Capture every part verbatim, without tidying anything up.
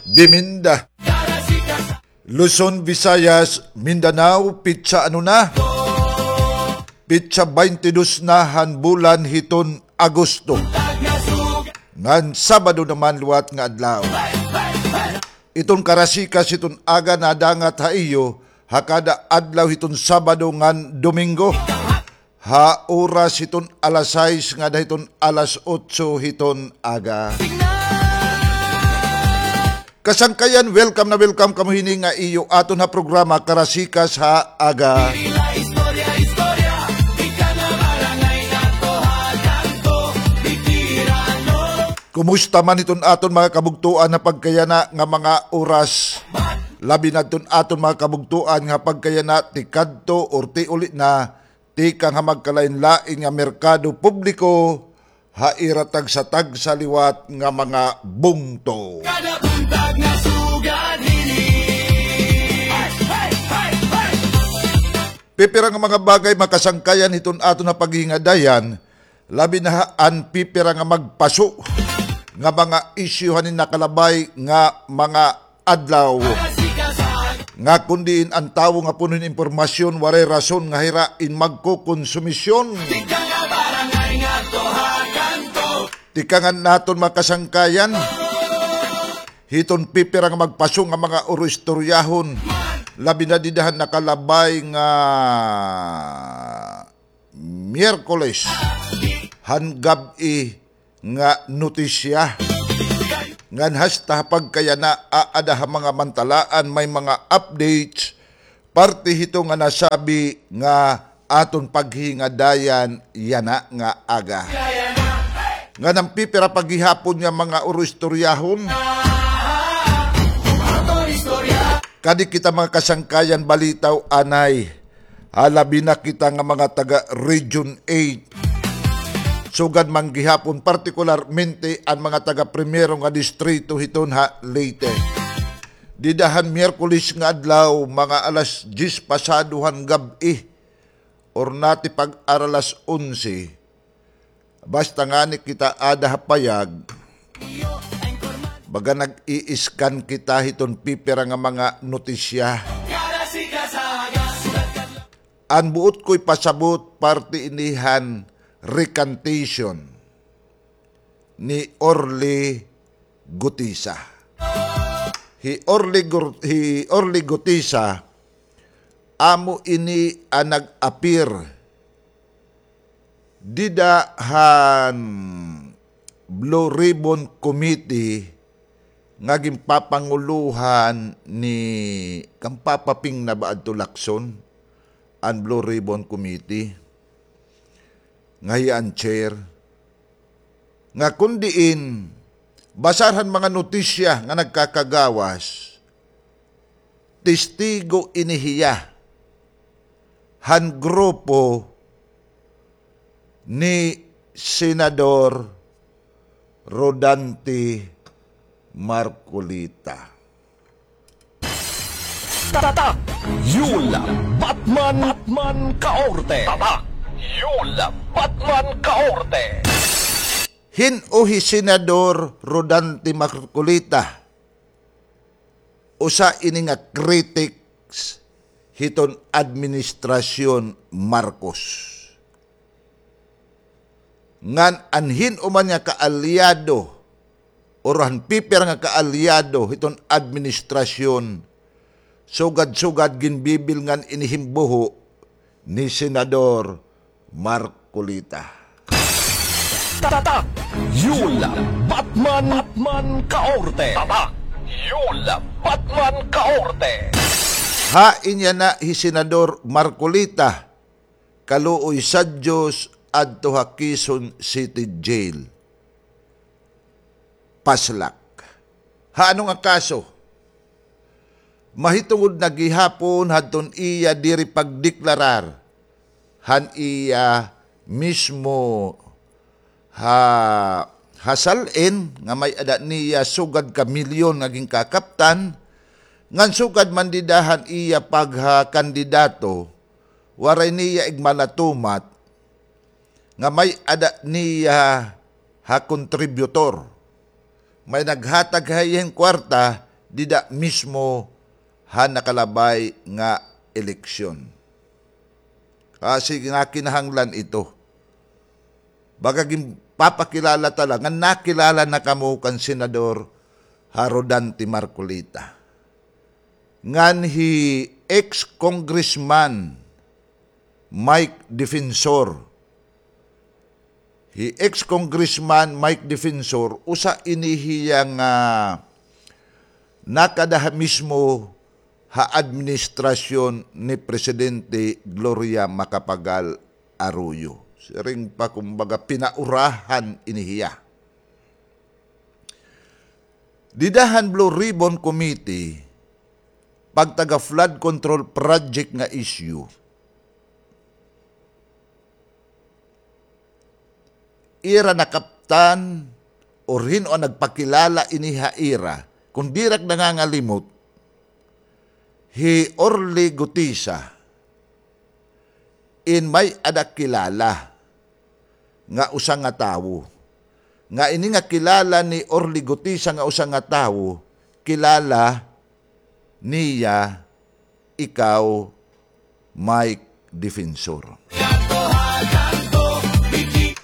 Biminda. Luzon, Visayas, Mindanao, pitsa ano na? Pitsa baynte dos na han bulan hiton Agosto. Ngan Sabado naman liwat nga adlaw. Iton karasikas hiton aga nadangat ha iyo ha kada adlaw hiton Sabado ngan Domingo. Ha oras hiton alas sais ngada hiton alas otso hiton aga. Kasangkayan, welcome na welcome kamo hini nga iyo aton ha programa Karasikas ha Aga. Kumusta man hiton aton mga kabugtoan ha pagkayana nga mga oras? Labi na hiton aton mga kabugtoan nga pagkayana tikadto or tiuli na tikang ha magkalain-lain nga merkado publiko ha ira tagsa-tagsa liwat nga mga bungto. Kada buntag nga sugad hini. Pipira nga mga bagay makasangkayan hiton aton ha paghingadayan, labi na ha an pipira nga magpaso nga mga isyu han nakalabay nga mga adlaw. Nga kon diin an tawo nga puno hin impormasyon, waray rason nga hira in magkokonsumisyon. Tikangan naton makasangkayan hiton pipira nga magpaso nga mga uro-istoryahon. Labi na dida han nakalabay nga Miyerkules han gab-i nga notisya. Ngan hasta ha pagkayana aada ha mga mantalaan may mga updates parte hito nga nasabi nga aton paghingadayan yana nga aga. Ngan an pipira pa gihapon nga mga uro-istoryahon. Kadi kita mga kasangkayan balitaw anay. Ha labi na kita nga mga taga Region eight. Sugad man gihapon, partikularmente an mga taga primero nga distrito hiton ha Leyte. Dida han Miyerkules nga adlaw, mga alas diyes pasado han gab-i, or nati pag-ara alas onse, basta ngani kita aada ha payag, baga nag-i-scan kita hiton pipira nga mga notisya. An buot ko ipasabot, parte ini han recantation ni Orly Gutisa. Hi Orly Gur-, hi Orly Gutisa, amo ini an nag-appear dida han Blue Ribbon Committee nga ginpapangulohan ni kan Papa Ping na ba adto, Lacson, an Blue Ribbon Committee nga hiya an chair. Nga kon diin, basar han mga notisya nga nagkakagawas, testigo ini hiya han grupo ni Senador Rodante Marcoleta. Tatak Yul Batman, Batman Kaorte. Tatak Yul Batman Kaorte. Hin-o hi Senador Rodante Marcoleta? Usa ini nga critics hiton administrasyon Marcos. Ngan an hin-o man nga kaalyado, or han pipira nga kaalyado hiton administrasyon, sugad-sugad ginbibilngan ini hin buho ni Senador Marcoleta. Tatak Yul Batman, Batman Kaorte. Tatak Yul Batman Kaorte. Hain yana hi Senador Marcoleta, kaluoy sa Diyos, adto ha Quezon City Jail. Paslak. Ha ano nga kaso? Mahitungod na gihapon hadton iya diri pagdeklarar han iya mismo ha, ha sal-in nga may-ada niya sugad ka milyon nga ginkakaptan, ngan sugad man dida han iya paghakandidato, waray niya igmalatumat nga may-ada niya ha kontributor. May naghatag ha iya hin kwarta, dida mismo ha nakalabay nga eleksyon. Kasi nga kinahanglan ito. Baga ginpapakilala ta la nga nakilala na kamo kan Senador ha Rodante Marcoleta. Ngan hi ex-Congressman Mike Defensor. Hi ex-Congressman Mike Defensor, usa ini hiya nga nakada ha mismo ha administrasyon ni Presidente Gloria Macapagal Arroyo. Siring pa, kumbaga, pinaurahan ini hiya. Dida han Blue Ribbon Committee, pagtaga flood control project nga issue, ira nakaptan, or hin-o an nagpakilala ini ha ira, kon diri ak nangangalimot, hi Orly Gutisa, in may-ada kilala nga usa nga tawo. Nga ini nga kilala ni Orly Gutisa nga usa nga tawo, kilala niya ikaw, Mike Defensor.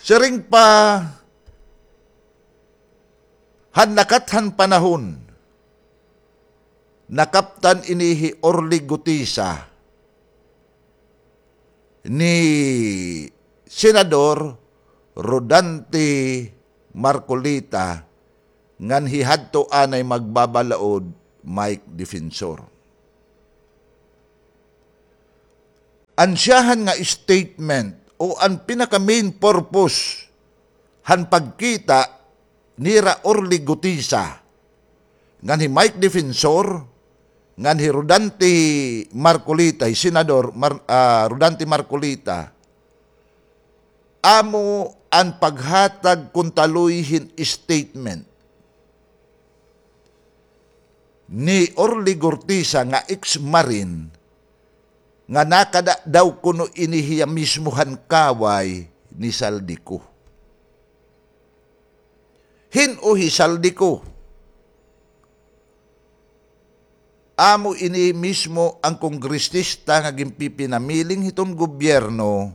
Siring pa, han lakat han panahon, nakaptan ini hi Orly Gutisa ni Senador Rodante Marcoleta ngan hi hadto anay magbabalaod Mike Defensor. An siyahan nga statement o an pinaka main purpose han pagkita nira Orly Gutisa ngan hi Mike Defensor ngan hi Rodante Marcoleta, hi Senador Mar-, ah, Rodante Marcoleta, amo an paghatag kon taloy hin statement ni Orly Gutisa nga ex-Marine nga nakada daw kuno ini hiya mismo han kaway ni Zaldy Co. Hin-o hi Zaldy Co? Amo ini mismo an kongresista nga ginpipinamiling hiton gobyerno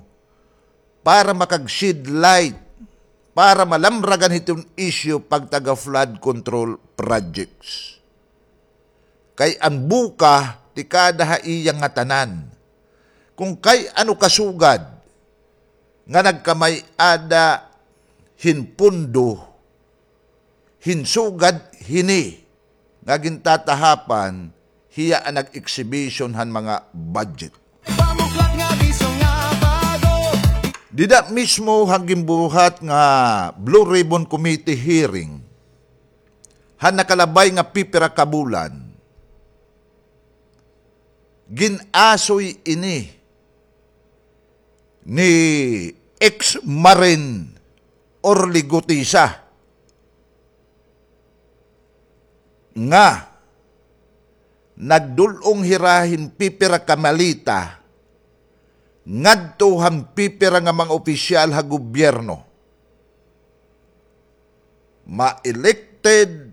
para makag-shed light, para malamragan hiton issue pagtaga flood control projects. Kay an buka tikada ha iya ngatanan. Kon kay ano kasugad nga nagkamay-ada hin pondo hin sugad hini nga gintatahapan, hiya an nag-exhibition han mga budget. Dida mismo han ginbuhat nga Blue Ribbon Committee hearing, han nakalabay nga pipira ka bulan, gin-asoy ini ni ex-Marine Orly Gutisa nga nagdul-ong hira hin pipira ka maleta ngadto han pipira nga mga opisyal ha gobyerno. Ma-elected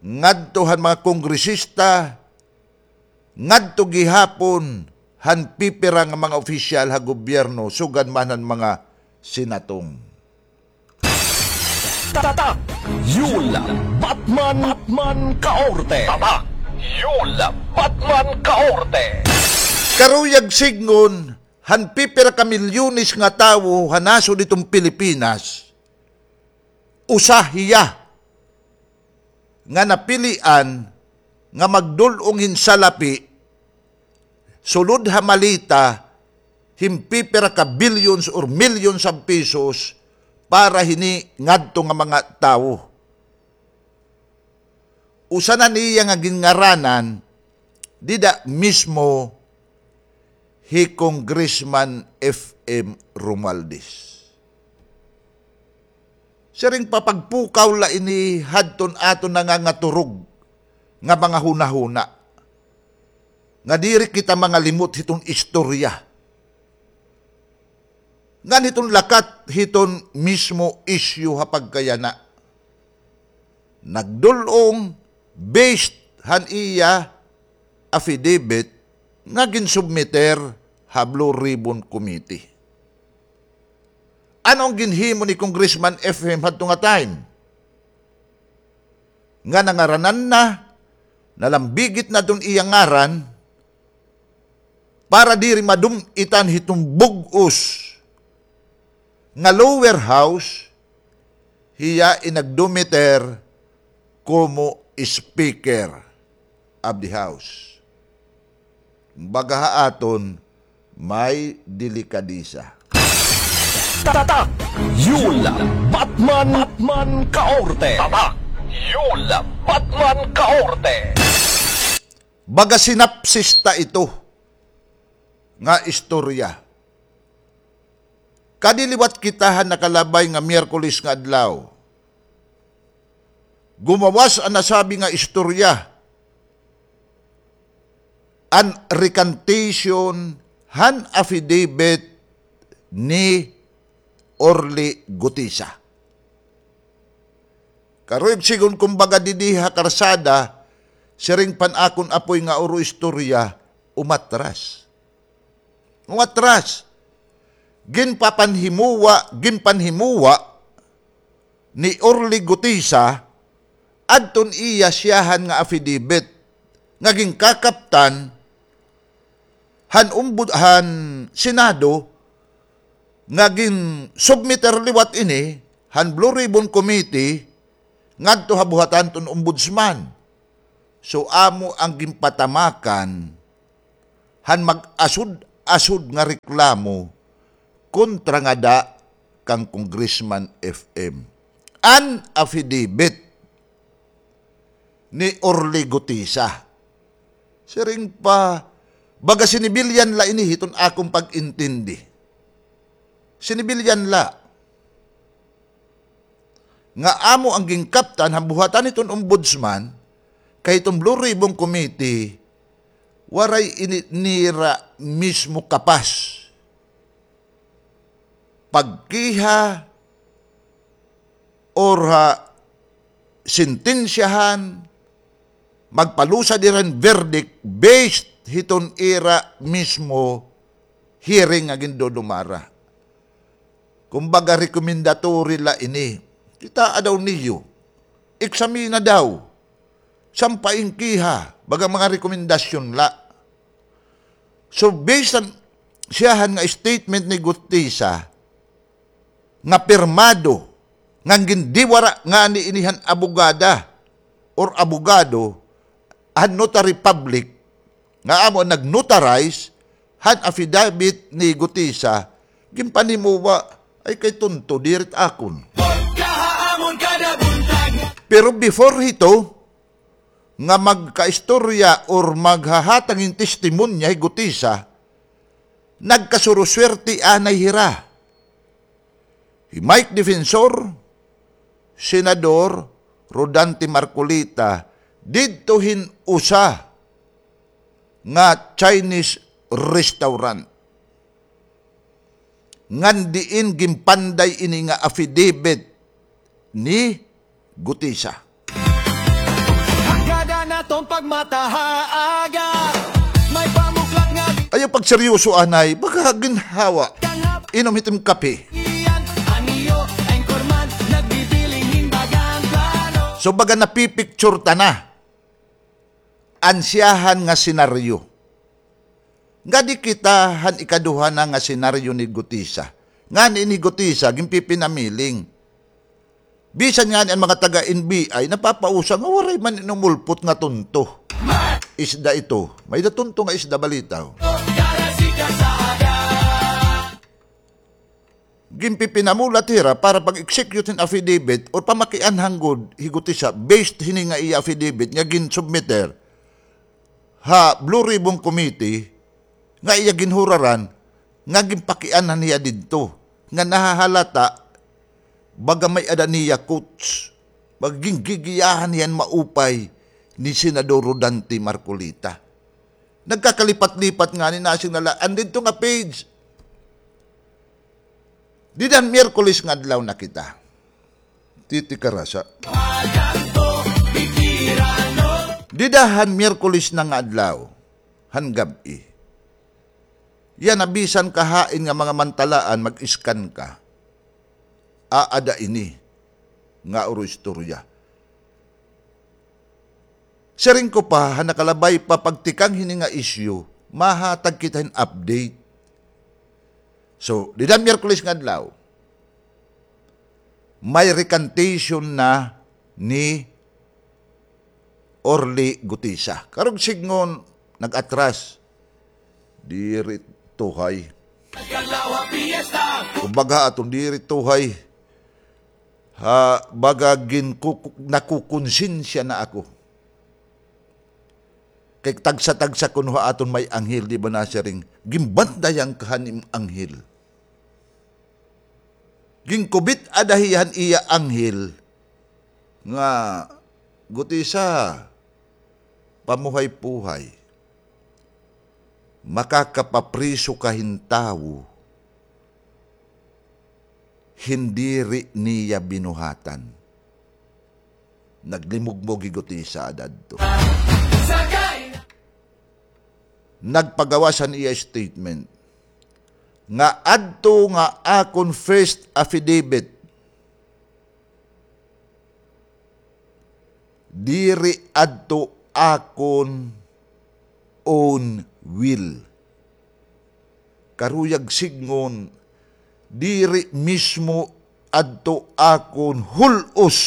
ngadto han mga kongresista, ngadto gihapon han pipira nga mga opisyal ha gobyerno, sugad man han mga senatong. Tatak! Yul Batman, Batman Kaorte! Tatak! Yul Batman Kaorte! Karuyag sidngon, han pipira ka milyones nga tawo ha nasod hiton Pilipinas, usa hiya nga napilian nga magdul-ong hin salapi sulod ha maleta hin pipira ka billions or millions of pesos para hini ngadto nga mga tawo. Usa na niya nga ginngaranan dida mismo hi Congressman F M Romualdez. Siring pa, pagpukaw la ini hadton aton nangangaturog nga mga hunahuna, nga diri kita mangalimot hiton istorya. Ngan hiton lakat hiton mismo isyu ha pagkayana. Nagdul-ong based han iya affidavit nga ginsubmiter ha Blue Ribbon Committee. Ano an ginhimo ni Congressman F M hadto nga time? Nga nangaranan na, nalambigit na iton iya ngaran, para diri madum-itan hiton bug-os nga lower house, hiya in nagdumiter komo Speaker of the House. Kumbaga ha aton, may delikadesa. Tatak! Yul Batman, Batman Kaorte! Tatak! Yul Batman Kaorte! Baga sinapsis ta ito nga istorya. Kadi liwat kita han nakalabay nga Miyerkules nga adlaw, gumawas an nasabi nga istorya, an recantation han affidavit ni Orly Gutisa. Karuyag sigon kumbaga didi ha karsada, siring pa an akon apoy nga uro istorya, umatras. Umatras. Ginpapanhimuwa, ginpanhimuwa ni Orly Gutisa adton iya siyahan nga affidavit nga ginkakaptan han ombud-, han Senado, nga ginsubmiter liwat ini han Blue Ribbon Committee ngadto ha buhatan hiton Ombudsman. So, amo an ginpatamakan han mag-asod-asod nga reklamo kontra ngada kan Congressman F M. An affidavit ni Orly Gutisa. Siring pa, baga sinibilyan la ini hiton akon pag-intindi. Sinibilyan la. Nga amo an ginkaptan han buhatan hiton Ombudsman, kay hiton Blue Ribbon Committee, waray ini nira mismo kapas pagkiha or ha sentensyahan, magpalusad hira hin verdict based hiton ira mismo hearing nga gindudumara. Kumbaga, recommendatory la ini. Kitaa daw niyo. Eksamina daw. Sampai hin kiha. Baga mga rekomendasyon la. So, based han siyahan nga statement ni Gutisa, nga pirmado, nga gindiwara ngani ini han abogada or abogado han notary public, nga amo an nag-notarize han affidavit ni Gutisa, ginpanimuwa, ay kay tunto, diri it akon. Pero before hito, nga magkaistorya or maghahatag hin testimonya hi Gutisa, nagkasuruswerte anay hira. Hi Mike Defensor, Senador Rodante Marcoleta, didto hin usa nga Chinese restaurant. Ngan diin ginpanday ini nga affidavit ni Gutisa. Hagad an aton pagmata ha aga, may pamuklat nga. Ayaw pagseryoso anay, baga ginhawa. Inom hit im kape. Iyan, an iyo anchorman, nagbibiling hin baga an plano. So, baga napipicture ta na an siyahan nga senaryo. Ngadi kita han ikaduha na nga senaryo ni Gutisa. Ngani ni Gutisa, ginpipinamiling. Bisan ngani an mga taga-N B I, napapausa nga waray man inumulpot nga tunto. Isda ito. May-ada tunto nga isda, balitaw. Ginpipinamulat hira para pag-execute hin affidavit or pamakianhan gud hi Gutisa based hini nga iya affidavit nga ginsubmiter ha Blue Ribbon Committee nga iya ginhuraran nga ginpakianhan hiya didto nga nahahalata baga may-ada niya quotes, baga gingigiyahan hiya hin maupay ni Senador Rodante Marcoleta. Nagkakalipat-lipat ngani, nasiring na la, an didto nga page. Dida han Miyerkules nga adlaw na kita. Titi Karasa. Dida han Miyerkules na nga adlaw, han gab-i. Yana bisan ka hain nga mga mantalaan, mag-scan ka. Aada ini nga uro istorya. Siring ko pa, han nakalabay pa pagtikang hini nga isyu, mahatag kita hin update. So, dida Miyerkules nga adlaw, may recantation na ni Orly Gutisa. Karuyag sidngon, nag-atras. Diri tuhay. Kumbaga, aton diri tuhay. Ha, baga ginkuku-, nakukonsensya na ako. Kay tagsa-tagsa kuno ha aton may anghel, di ba nasiring, ginbantayan ka han im anghel. Ginkubit-a dahi han iya anghel nga, Gutisa, pamuhay-puhay. Makakapapriso ka hin tawo hin diri niya binuhatan. Naglimugmog hi Gutisa adto. Nagpagawas han iya statement nga adto nga akon first affidavit, diri adto akon own will. Karuyag sidngon, diri mismo adto akon hul-os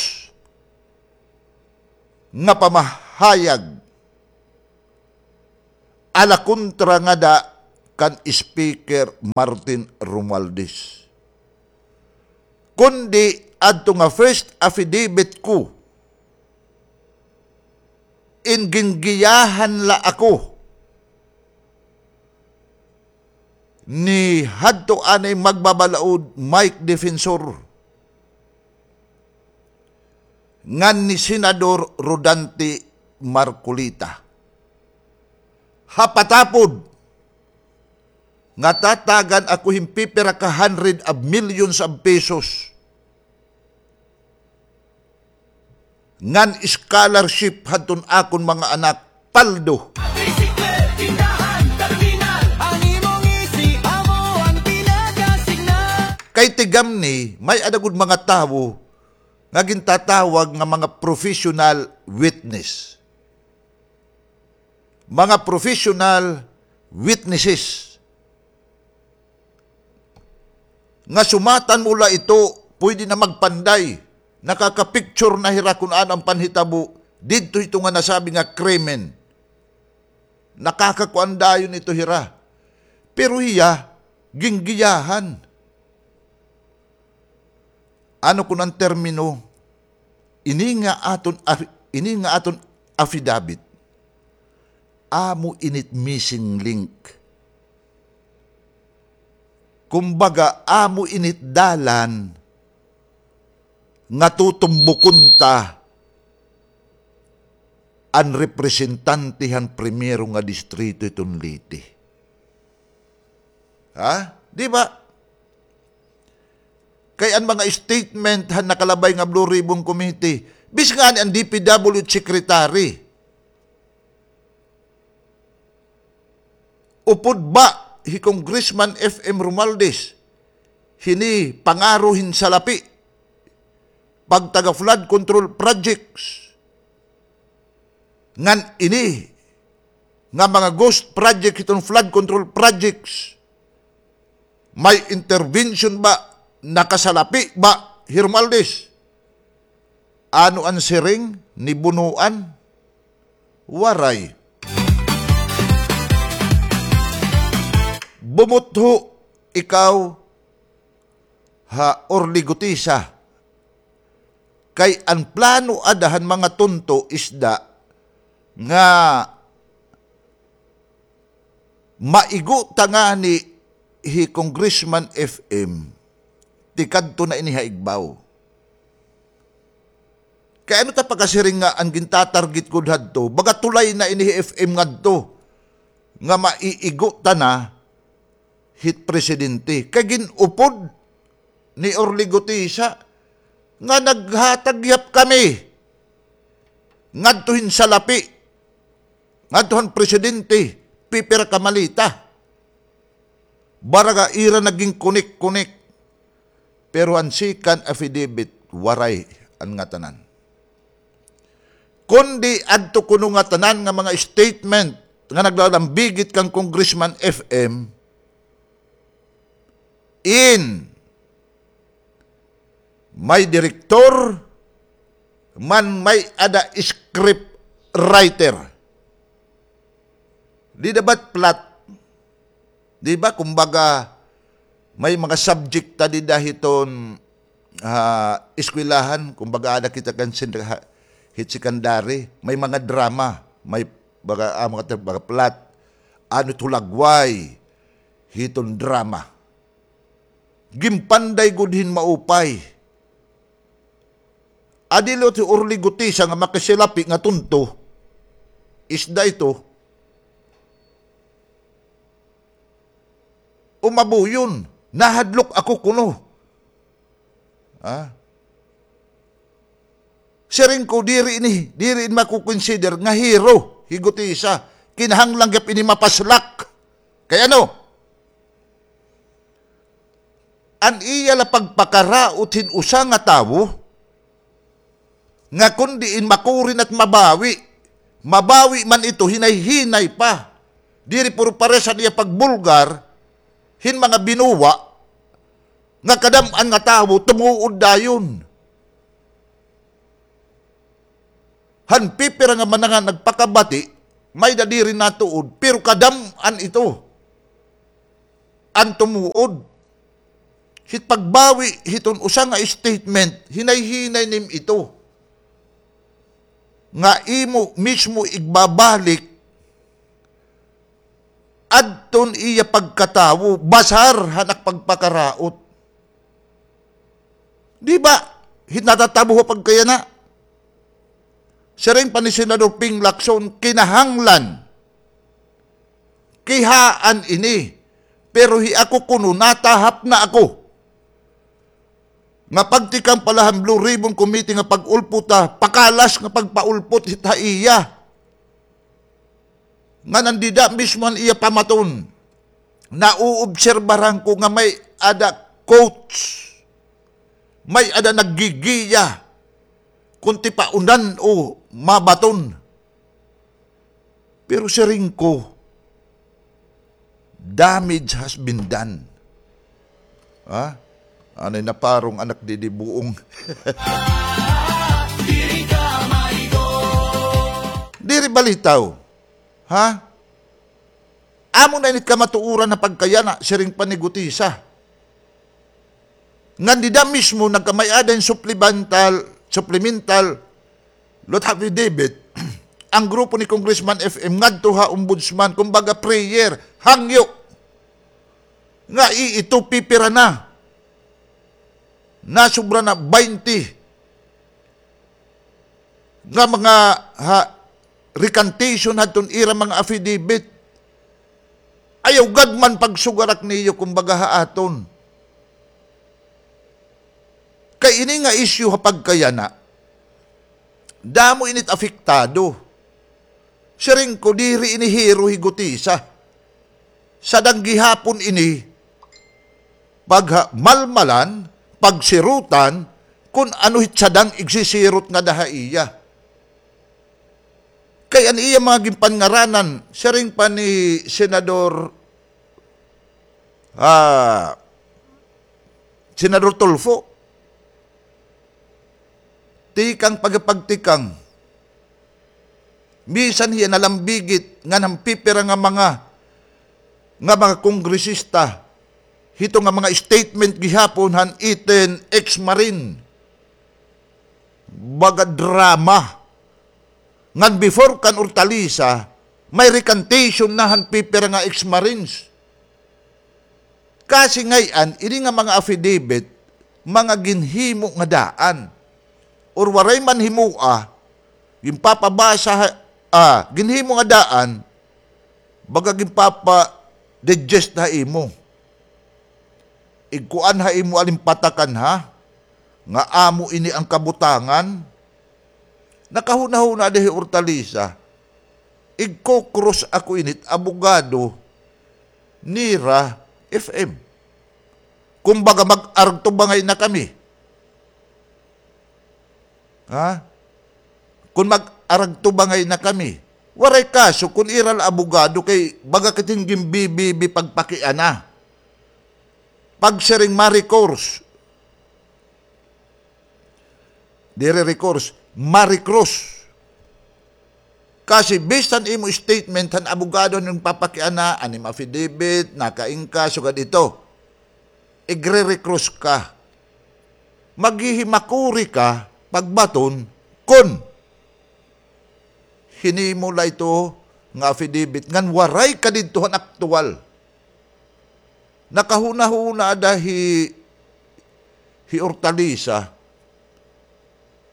nga pamahayag ala kontra ngada kan Speaker Martin Romualdez. Kundi adto nga first affidavit ko, in gingiyahan la ako ni hadto anay magbabalaod Mike Defensor ngan ni Senador Rodante Marcoleta. Ha patapod nga tatagan ako hin pipira ka hundred of millions of pesos ngan scholarship hadton akon mga anak, paldo. Kay tigamni, may-ada gud mga tawo nga gintatawag nga mga professional witness. Mga professional witnesses. Nga sumatan mo la ito, pwede na magpanday. Nakaka-picture na hira kun ano an panhitabo didto hito nga nasabi nga krimen. Nakakakuan dayon ito hira. Pero hiya, ginggiyahan. Ano kun an termino, ini nga aton af-, ini nga aton affidavit, amo init missing link. Kumbaga, amo init dalan nga tutumbukon ta an representante han primero nga distrito hiton Leyte. Ha? Di ba? Kay an mga statement han nakalabay nga Blue Ribbon Committee, bisan ngani an D P W H secretary. Upod ba hi Congressman F M Romualdez hini pangaro hin salapi pagtaga flood control projects? Ngan ini nga mga ghost project hiton flood control projects, may intervention ba, nakasalapi ba hi Romualdez? Ano an siring ni Bunuan? Waray. Bumutho ikaw ha Orly Gutisa. Kay an plano ada han mga tunto isda nga maigo ta ngani hi Congressman F M, tikadto na ini ha igbaw. Kay ano ta pakasiring nga an gintatarget gud hadto, baga tulay na ini hi F M ngadto, nga maiigo ta na hit presidente. Kay gin-upod ni Orly Gutisa nga naghatag gihap kami ngadto hin salapi Ngadto han presidente, pipira ka maleta. Baraga ira naging kunik-kunik. Pero an second affidavit, waray an ngatanan. Kundi adto kuno ngatanan nga mga statement nga naglalambigit kan Congressman F M, in may direktor, man may-ada script writer. Dida ba it plot? Di ba, kumbaga, may mga subject ta dida hiton, ah, eskwelahan, kumbaga, ada kita kan sen-, ha, hit secondary, may mga drama, may baga, ah, mga, mga plot, ano it hulagway hiton drama. Ginpanday gud hin maupay. Adi la hi Orly Guteza nga makisilapi nga tunto. Isda ito. Umabuyon. Nahadlok ako kuno. Ha? Siring ko, diri ini, diri ini mako-consider nga hero hi Guteza. Kinahanglan gihap ini mapaslak. Kay ano? An iya la pagpakaraot hin usa nga tawo, nga kon diin makurin at mabawi, mabawi man ito, hinay-hinay pa. Diri puro pares an iya pagbulgar hin mga binuwa, nga kadam-an nga tawo tumuod dayon. Han pipira nga mga nagpakabati, may-ada diri natuod, pero kadam-an ito an tumuod. Hit pagbawi hiton usa nga statement, hinay-hinay nim ito. Nga imo mismo igbabalik adton iya pagkatawo, basar han ak pagpakaraot. Di ba? Hit natatabo ha pagkayana. Siring pa ni Senador Ping Lacson, kinahanglan kihaan ini. Pero hi ako kuno, natahap na ako. Nga pagtikang pa la han Blue Ribbon Committee nga pag-ulpot ha, pakalas nga pagpaulpot hit ha iya. Ngan an dida mismo an iya pamaton. Nauobserbaran ko nga may-ada coach, may-ada naggigiya kon tipaunan o mabaton. Pero siring ko, damage has been done. Ha? Anay naparong anak didi buong. Diri balitaw. Ha? Amo na ini it kamatuoran ha pagkayana, siring pa ni Guteza. Ngan dida mismo nagkamay-ada hin supplemental, supplemental lot affidavit, ang grupo ni Congressman F M ngadto ha Ombudsman, kumbaga prayer, hangyo. Nga i-, ito pipira na. Nasobra na baynte nga mga, ha, recantation hadton ira mga affidavit. Ayaw gad man pagsugarak niyo, kumbaga, ha aton. Kay ini nga isyu ha pagkayana, damo ini it apektado. Siring ko, diri ini hero hi Guteza. Sadang gihapon ini pagmalmalan, pagsirutan, kun ano hit sadang igsisirot ngada ha iya. Kay an iya mga ginpanngaranan, siring pa ni Senador, ah, Senador Tulfo, tikang pagpagtikang. Bisan hiya nalambigit ngan han pipira nga mga, nga mga kongresista, hito nga mga statement gihapon han iten ex-Marine. Baga drama. Ngan before kan Hortaleza, may recantation na han pipira nga ex-Marines. Kasi ngay-an, ini nga mga affidavit, mga ginhimo nga daan. Or waray man himoa, ginpapabasa ha, ah, ginhimo nga daan, baga ginpapa-digest ha imo. Igkuan ha imo alimpatakan ha, nga amo ini an kabutangan. Nakahunahuna di hi Hortaleza. igko-cross ako ini hit abogado nira F M. Kumbaga, mag-aragtubangay na kami. Ha? Kon mag-aragtubangay na kami, waray kaso kon ira la abogado kay baga kit hin ginbibibi pagpakiana. Pagsiring ma-recourse. Diri recourse, ma-recross. Kasi based han imo statement han abogado han papakiana, an imo affidavit, nakaingka, sugad ito. Igre-recross ka. Maghihimakuri ka, pagbaton, kon hinimo la ito nga affidavit, ngan waray ka didto han aktuwal. Nakahunahuna ada hi, hi Hortalisa,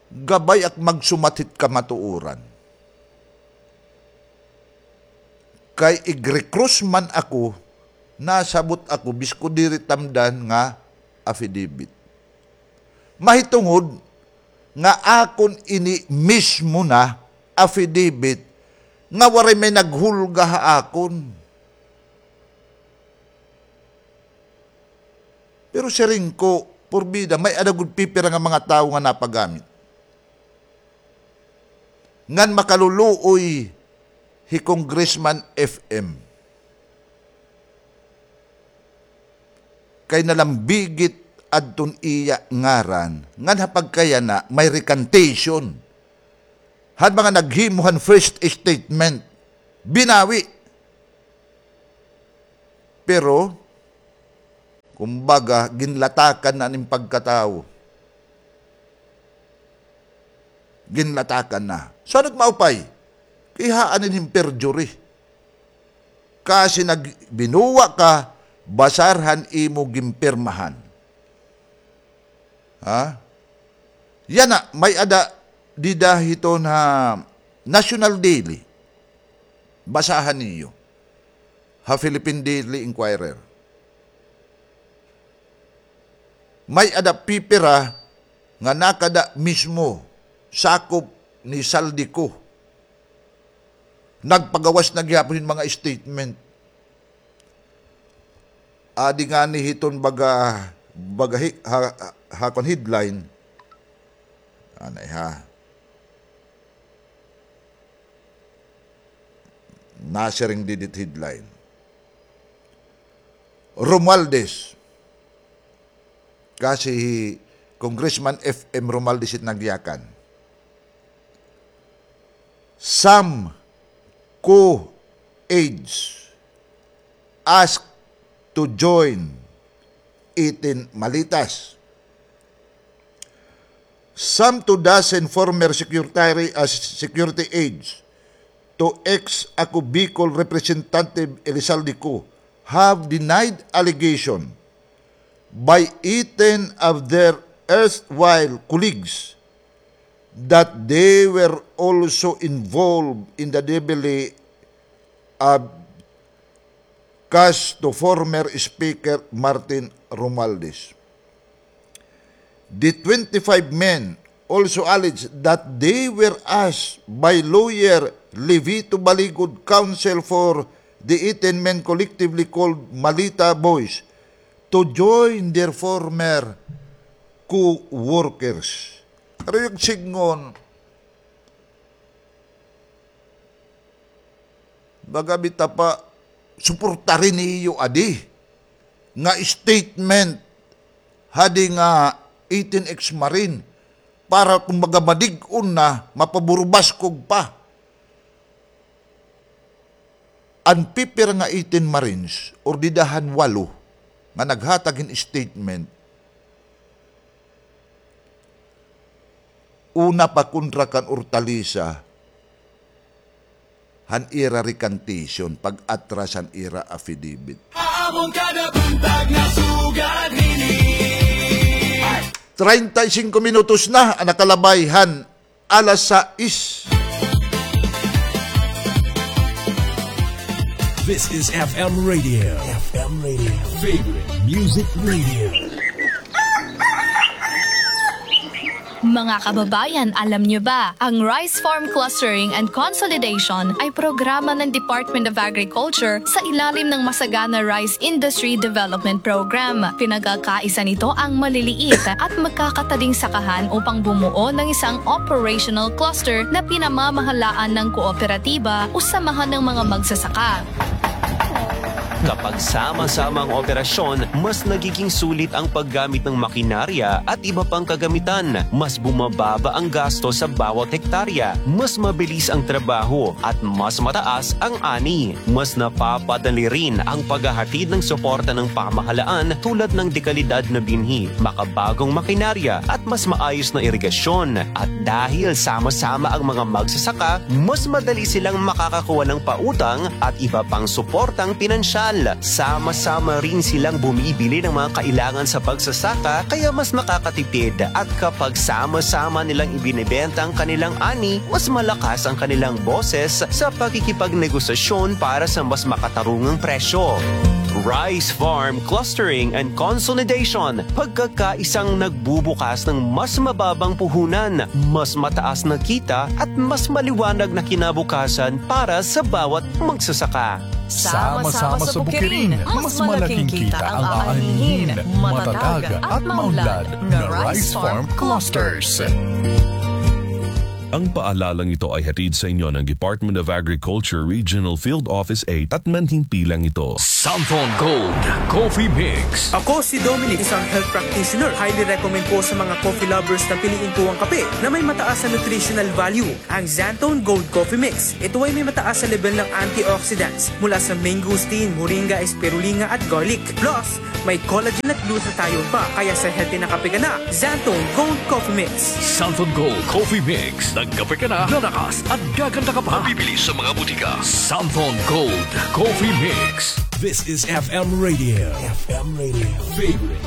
gabay ak magsumat hit kamatuoran. Kay igre-cross man ako, nasabot ako, bisko diri tamdan nga affidavit. Mahitungod nga akon ini mismo na affidavit nga waray may naghulga ha akon. Pero siring ko, porbida, may-ada gud pipira nga mga tawo nga napagamit. Ngan makaluluoy hi Congressman F M. Kay nalambigit adton iya ngaran, ngan ha pagkayana may recantation. Han mga naghimo han first statement, binawi. Pero, kumbaga, ginlatakan na an im pagkatawo. Ginlatakan na. So, ano it maupay? Kay haan ini hin perjury. Kasi nag-, binuwa ka, basar han imo ginpirmahan. Ha? Yana, may-ada dida hiton ha National Daily. Basahan niyo. Ha Philippine Daily Inquirer. May-ada pipira nga nakada mismo sakop ni Zaldy Co. Nagpagawas na gihapon hin mga statement. Adi ngani hiton baga, baga hi-, ha, ha, ha kon headline. Anay ha. Nasiring didi hit headline. Romualdez. Kasi hi Congressman F M Romualdez it nagyakan. Some co-aides asked to join eighteen Malitas. Some two dozen former secretary, uh, security aides to ex-ACO Bicol Representative Elizalde Co have denied allegation by eighteen of their erstwhile colleagues that they were also involved in the debris of cast to former Speaker Martin Romualdez. The twenty-five men also alleged that they were asked by lawyer Levito Baligod, counsel for the eighteen men collectively called Malita Boys, to join their former co-workers. Karuyag sidngon, baga bitaw pa, suportari niyo adi nga statement hadi nga eighteen ex-Marine para kumbaga madig-on na, mapaburubaskog pa. An pipira nga eighteen Marines, or dida han walo, nga naghatag hin statement, una pa kontra kan Hortalisa, han ira recantation, pag-atras han ira affidavit. Amon kada buntag nasugad hini. Treinta y cinco minutos na an nakalabay han alas sais. This is F M Radio. F M Radio. Favorite Music Radio. Mga kababayan, alam niyo ba, ang Rice Farm Clustering and Consolidation ay programa ng Department of Agriculture sa ilalim ng Masagana Rice Industry Development Program. Pinagkakaisa nito ang maliliit at magkakatading sakahan upang bumuo ng isang operational cluster na pinamamahalaan ng kooperatiba o samahan ng mga magsasaka. Kapag sama-sama ang operasyon, mas nagiging sulit ang paggamit ng makinarya at iba pang kagamitan. Mas bumababa ang gasto sa bawat hektarya, mas mabilis ang trabaho, at mas mataas ang ani. Mas napapadali rin ang paghahatid ng suporta ng pamahalaan tulad ng dekalidad na binhi, makabagong makinarya, at mas maayos na irigasyon. At dahil sama-sama ang mga magsasaka, mas madali silang makakakuha ng pautang at iba pang suportang pinansyal. Sama-sama rin silang bumibili ng mga kailangan sa pagsasaka, kaya mas makakatipid. At kapag sama-sama nilang ibinebenta ang kanilang ani, mas malakas ang kanilang boses sa pakikipagnegosasyon para sa mas makatarungang presyo. Rice Farm Clustering and Consolidation, pagkakaisang nagbubukas ng mas mababang puhunan, mas mataas na kita, at mas maliwanag na kinabukasan para sa bawat magsasaka. Sama-sama sa bukirin, mas malaking kita ang aanihin. Matatag at maunlad na Rice Farm Clusters. Ang paalalang ito ay hatid sa inyo ng Department of Agriculture Regional Field Office eight at manhimpilang ito. Santon Gold Coffee Mix. Ako si Dominic, isang health practitioner. Highly recommend ko sa mga coffee lovers na piliin ko ang kape na may mataas na nutritional value, ang Xanthone Gold Coffee Mix. Ito ay may mataas na level ng antioxidants mula sa mangosteen, moringa, spirulina at garlic. Plus, may collagen at glutathione pa, kaya sa healthy na kape ka na, Xanthone Gold Coffee Mix. Santon Gold Coffee Mix. Nagkape ka na, lalakas at gaganda ka pa. Mabibili sa mga butika. Santon Gold Coffee Mix. This is F M Radio. F M Radio. Favorite.